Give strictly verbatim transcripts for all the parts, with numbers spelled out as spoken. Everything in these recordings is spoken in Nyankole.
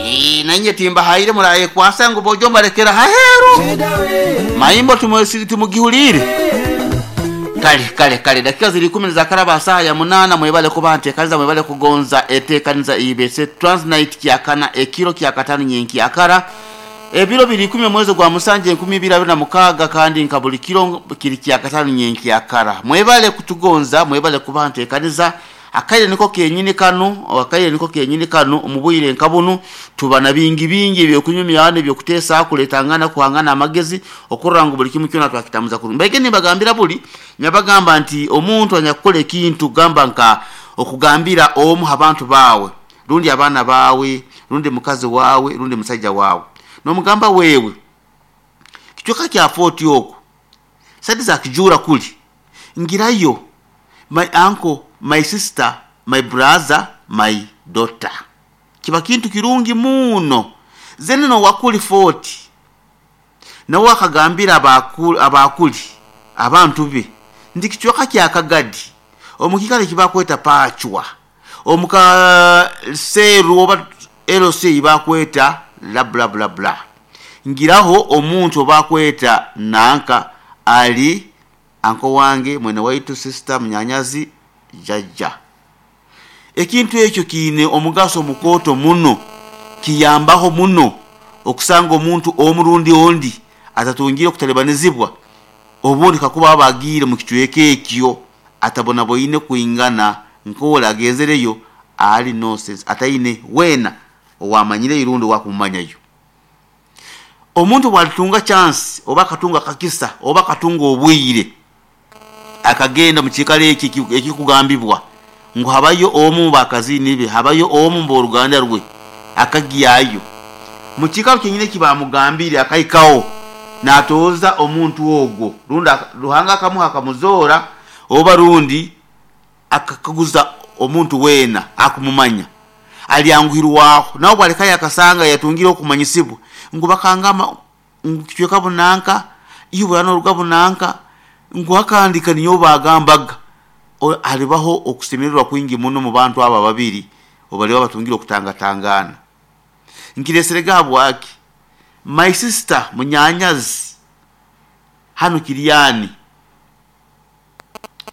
Eh, nanye timbahaire murayekwasa ngu bojo mbarekera haheru maimbo tumu- tumugihulire kale kale kale dakika ziri kumi za karaba saa ya munana mwebale kuba ntekaniza mwebale kugonza etekaniza ibese transnight kyakana ekiro kyakatano nyenki akara ebiro biri ikumi omwezi gwa musanje enkumi ibiri abiri na mukaaga kandi nka buli kiro kiri kyakatano nyenki akara mwebale kutugonza mwebale kuba ntekaniza akaire niko kenyini kano akaire niko kenyini kano omubwire nka bunu tuba na bingi bingi ebyokunyumya ebyokuteesa kuletangana kuhangana amagezi okurora ngu buli kimu kyona twakitamuza kurungi mbege nibagambira buli nyabagamba nti omuntu anyakukola ekintu gamba nka okugambira omu abantu baawe rundi abaana baawe rundi mukazi waawe rundi musajja waawe nomugamba wewe kichweka kya foti oku sadi za kijura kuli ngirayo my uncle my sister my brother my daughter kiba kintu kirungi muno zene nowakuli foti nawe akagambira abakuli, abakuli abantu be nti kichweka kyakagadi omukikale kibakweta pachwa omuka seru oba lc bakweta la bla bla bla ngiraho omuntu obakweta nanka ali anko wange mwene waitu sister munyanyazi jajja ekintu ekyo kiine omugaso mukooto muno kiyambaho muno okusanga omuntu omurundi ondi atatungire okutalibanizibwa obundi kakuba aba agiire mu kicweka ekyo atabonaboine kwingana nkola agenzereyo ali nonsense ataine weena owamanyire irundi owakumumanyayo omuntu bwalitunga chance oba akatunga kakisa oba akatunga obwire akagenda mu kiikaro eki eki- ekikugambibwa ngu habayo omu bakazini be habayo omu mboruganda rwe akagyayo mu kiikaro kyenyini ekibamugambire akaikawo natooza omuntu ogwo rundi aka- ruhanga akamuha akamuzoora oba rundi akakaguza omuntu weena akumumanya alyanguhirwaho nawe bwalekayo akasanga yatungire okumanyisibwa ngu bakangama ngu kicweka bunanka ibura noruga bunanka ngu akandika niyo bagambaga O- halibaho okusemererwa kwingi muno mu bantu abo babiri obaliba batungire okutangatangana nkiresere gabwaki my sister munyanyazi hano kiryani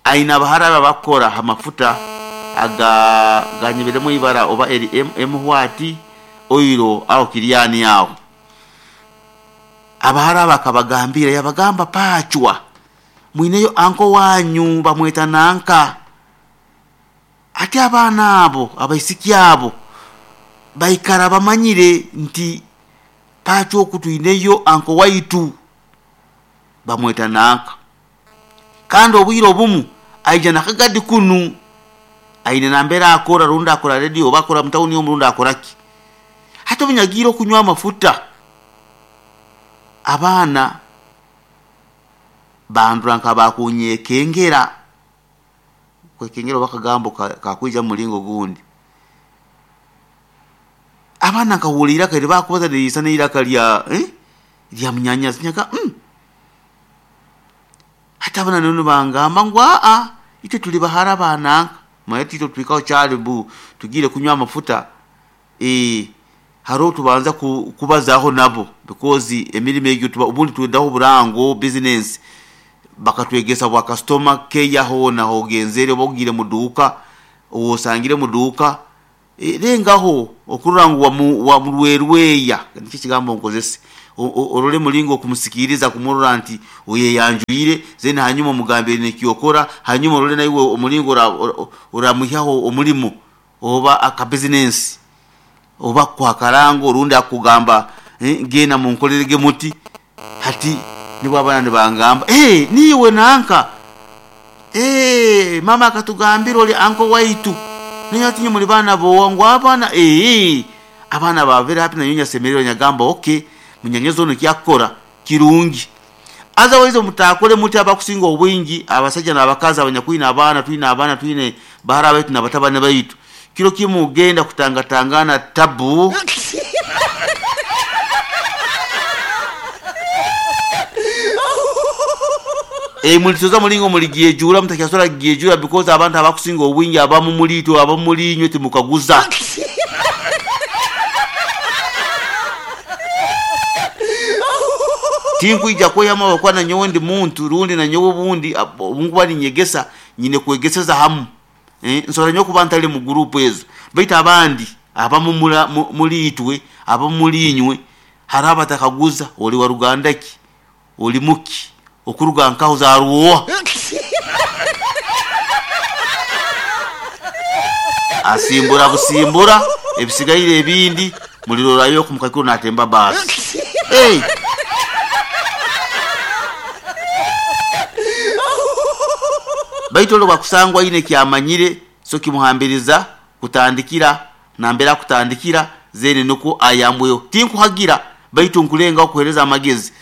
aina abahara aba bakora amafuta aga ganyebelemu ibara oba eri em- emuhwati oiro aho kiryani aho abahara aba akabagambira yabagamba pachwa mwineyo anko wanyu bamweta nanka ati abaana abo abaisiki abo baikara bamanyire nti pachwa oku twineyo anko waitu bamweta nanka kandi obwire obumu aija nakagadi kunu aine nambera akora rundi akora radio oba akora mutawuni omu rundi akoraki hati obunyagiire okunywa amafuta abaana bandura nka bakunyekengera kwekengera oba akagambo ka- kakwija mu mulingo gundi abaana nkahurira iraka eribakubaza niriisa n'eiraka lya eh? lya munyanyazi nyaga mm. hati abana nono bangamba ngu aa itwe tuli bahara bananka maye tito twikaho kyali bu tugire kunywa amafuta eh hariho tubanza ku, kubazaho nabo because emirimo egyo tuba ubundi tuendaho burango business bakatwegesa bwa customer care hona hogenzere oba ogire muduka osangire muduka e, rengaho okurora ngu wamu- wamurwerweya nikyo kigambo nkozese O- o- orole mulingo okumusikiriza kumurora nti oyeyanjwire then hanyuma omugambire nekyokora hanyuma orole naiwe omulingo ora- ora- oramuhyaho omulimo oba akabizinensi oba kwakarango orundi akugamba eh, genda munkorerege muti hati nibwo abaana nibangamba hey, niwe nanka hey, mama akatugambira oli anko waitu naye ati muli baana bowa ngu abaana ee abaana ba very happy nanyo nyasemererwa nyagamba okay munyanyozi ono kyakukora kirungi otherwise mutakole muti abakusinga obwingi abasajja n'abakazi abanyakwine abaana twine abaana twine bahara baitu n'abatabani baitu kiro kimu ugenda kutangatangana tabu e mulitoza mulingo muligyejura mutakyasobola kugyejura because abantu abakusinga obwingi abamu muliitwe abamu mulinywe timukaguza Tinkwija kweyama ahabw'okuba nanyowe ndi muntu rundi nanyowe obundi obu nkuba ninyegesa nyine kwegeseza hamu. Eh, nsobora nyowe kuba ntari mu gurupu ezo, baitu abandi abamu muri itwe, abamu muri inywe, hariho abatakaguza ori wa ruganda ki, ori muki, okuruga nkaho zarwoha. Asimbura busimbura, ebisigaire ebindi mulirorayo oku mukaikuru natemba baasi. Hey! Baitu ori bwakusangwa aine ekyamanyire, so kimuhambiriza kutandikira nambere akutandikira zeene nikwo ayambweho. Tinkuhagira baitu nkulengaho kuhereza amagezi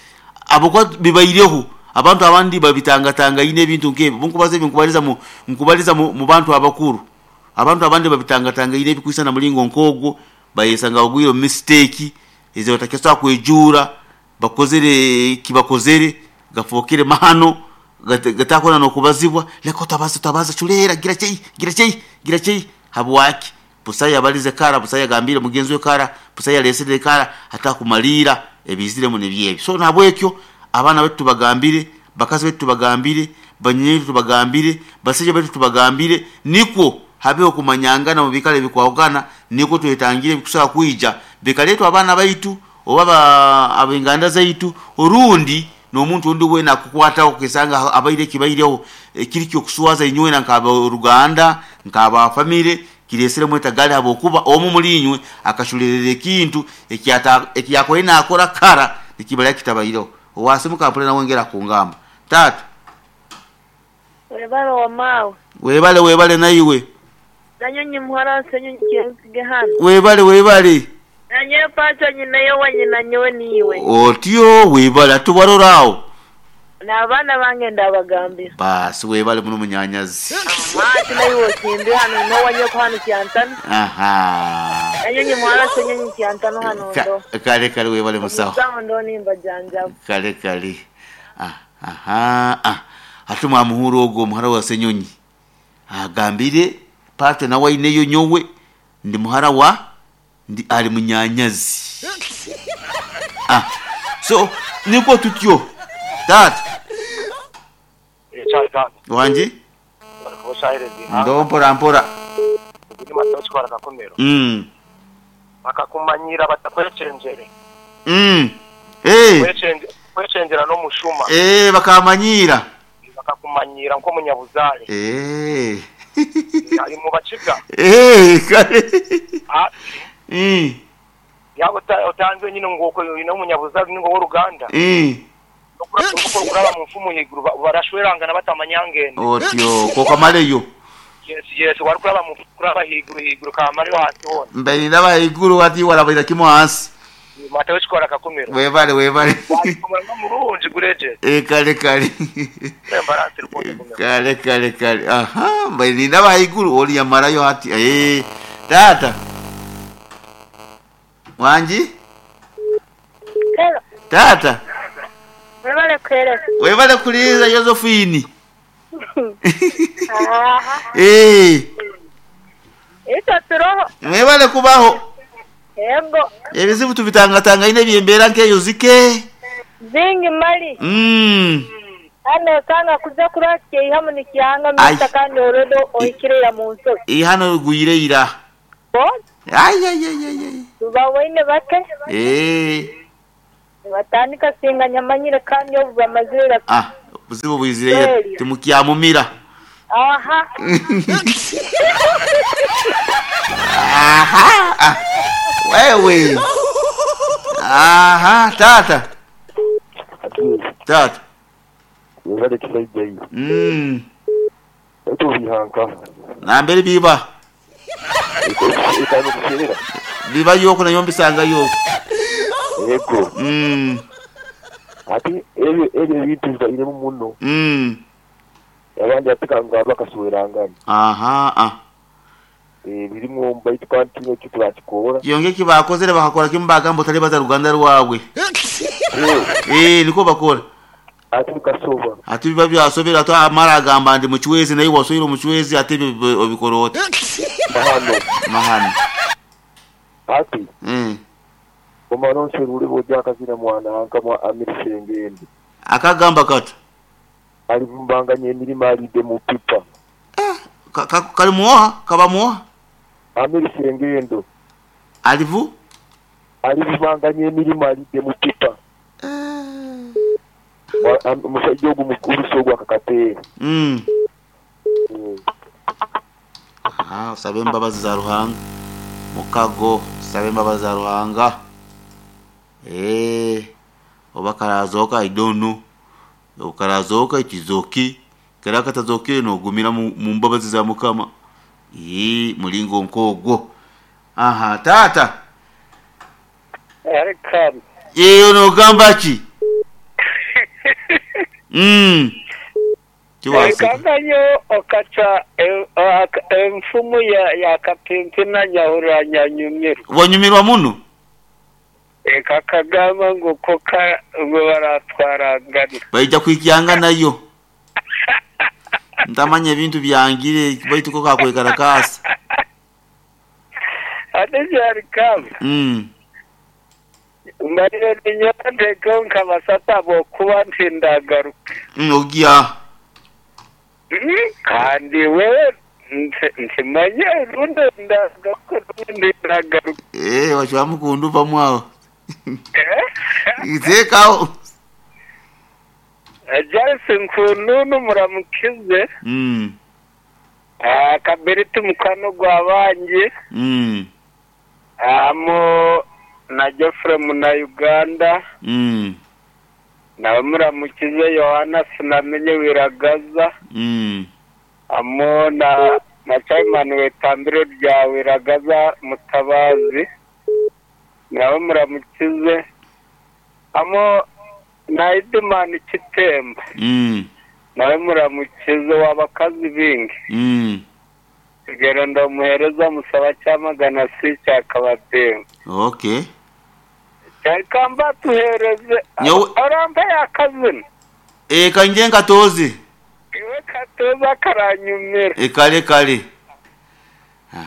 ahabwokuba bibaireho abantu abandi babitangatangaine ebintu nk'ebi. Obu nkubaza ebi nkubaliza mu nkubaliza mu, mu bantu abakuru. Abantu abandi babitangatangaine ebikwisana muringo nk'ogwo, bayesanga bagwire omu mistake ezi batakisobora kwejuura, bakozere eki bakozere gafookere mahano gatakwenda n'okubazibwa. Leka otabaza otabaza culeera gira chei gira chei gira chei. Habwaki? Busayo yabalize kara, busayo yagambiire mugenzi we kara, busayo yalesere kara, hatakumaliira ebiiziremu nibyo ebi. So nahabwekyo abaana baitu tubagambire, bakazi baitu tubagambire, banyinya itwe tubagambire, basaija baitu tubagambire, nikwo habeho okumanyangana omu biikaro ebikwahukana, nikwo twetangire ebikusobora kwija bikaleetwa abaana baitu oba ab'enganda zaitu orundi n'omuntu ondi weena akukwataho okesanga abaire ekibaireho ekiri ky'okuswaza inywena nk'ab'oruganda, nk'aba famire, kireeseremu etagari habwokuba omu omuli inywe akaculerera ekintu eki yakubaire naakora kara nikiba kitabaireho. Owasimuka mpurira nawe engeri akungamba. Taata. Webale wamaawe. Webale webale naiwe. Nanyonyi muhara Ssenyonyi Kyensige hanu. Webale webale. Nanyowe pacho nyineyo wa nyina nyowe niiwe. Otyo webale ati warora aho. N'abaana bange ndabagambira. Baasi webale muno munyanyazi. Aha, ati naiwe osimbe hanu n'owanyoko hanu Kyantano. Aha. Nanyonyi muhara Ssenyonyi Kyantano hanu ndo. Kale kale webale musawo. Musawo ndo nimbajanjaba. Kale kale. Ah, aha, ah. Hati mwamuhura ogwo omuhara wa Ssenyonyi agambire pato nawe aineyo nyowe ndi muhara wa ndi ari munyanyazi. Ah, so nikwo tutyo taata. Wangi ndo mpora mpora. Mm. Bakakumanyira batakwechenjere. Mm. Eh. Kwechenjera n'omushuma. Eh, bakamanyira. Bakakumanyira nk'omunyabuzare. Eh. Ali mu bakiga. Eh, kale. Ah. Mm. Yabo otanze nyine ngoko ino munyabuzare ningo w'oruganda. Eh. Kuraba mu mfumu higuru barashwerangana batamanyangene. Otyo kokamaleyo. Yes, yes, wari kuraba mu kuraba higuru higuru kamale hasi hona. Mbere ndaba higuru ati warabaira kimwe hasi. Matawe chikora kakumiro. Webale webale. Kumara murungi gureje. Eh, kale kale. Embarasi rukunde kumira. Kale kale kale. Aha, mbere ndaba higuru oli yamarayo hati. Eh, tata. Wanji? Hello. Tata. Webale kwereka. Webale kuliza Josephine. Aha. Eh. Ito turoho. Webale kubaho. Yego. Ebizibu tubitangatangaine ebyembeera nk'eyo zike. Zingi mali. Mm. Hano osanga kuza kurwakya eihamu nikyanga mita kandi orodo ohikirira mu nsozi. Ihano rigwire ira. Bo? Ai ai ai ai ai. Tubawaine bake. Eh. Batandika singa nyamanyire kandi obu bamazire. Ah, buzibu bwizire timukyamumira. Aha. Aha. Ah. Wewe. Aha, tata. Tata. Webale kisaijayi. Mm. Eto bihanka. Nambere biba. Ekano kucherera. Biba yoko na yombisanga yoko. Yego. Mm. Ati ebyo ebyo bintu bibairemu muno. Mm. Abandi atikanga bakaswerangana. Aha, ah. Eh birimu mbaitu kandi kimwe kitwakikora. Kyonge kibakozere bakakora kimu bagamba otali baza ruganda rwawe. Eh niko bakora. Ati bikasoba. Ati biba byasobera ati amara agamba ndi muchwezi naye wasoyira omuchwezi ate obikorota. Mahano. Mahano. Ati. Mm. Omanonse rule boja akazina mwana hankamwa amirisengende. Akagamba kata. Alivumbanganya emirimo alidde mu pipa. Eh, ka, ka, kalimuoha kabamuoha. Amirisengendo. Alivu? Alivumbanganya emirimo alidde mu pipa. Eh. Omusajja ogwo mukulu so ogwo akakateera. Mm. Mm. Ah, sabe embabazi za Ruhanga. Mukago sabe embabazi za Ruhanga. Eh, oba karazoka I don't know. Okarazoka ikizoki. Kera katazokire nogumira mu mu mbabazi za Mukama. Ee, mulingo nkogwo. Aha, tata. Welcome. Yeyo nogamba ki? Mm. Tiwaseka. Ekanganyo okaca e- ak- enfumu ya ya kapimpi na nyahura nyanyumirwa. Wanyumirwa muno? Eka kagamba ngo koka ngo baratwarangana. Baija kwikyanga nayo. Ntamanya ebintu byangire baitu ko kakwekarakaasa. Ate byari kamba. Mm. Mbarire ninyateko nkabasata bokuba ntindagaruka. Mm, ogia. Mm, Kandi wewe nti- ntimanye rundi ndagaruka rundi ndagaruka. Eh, wachwamukundu pamwawo. Eh? Itekawo. Jarisi nkununu muramukize. Mm. Ah, Kabiriti mukwano gwa bangi. Mm. Amo na Geoffrey muna Uganda. Mm. Nawe muramukize Yohana sinamenye wiragaza. Mm. Amo na na Chairman wetambiro rya wiragaza mutabazi. Nawe muramukize. Amo na Idimani Kitemba. Mm. Nawe muramukize w'abakazi bingi. Mm. Kigero ndamuhereza musaba cyamagana si cyakabatemba. Okay. Cyakamba tuhereze Nyowe- arampa yakazina. Eh, kanje nkatozi. Iwe katoza karanyumira. Eh, kale kale.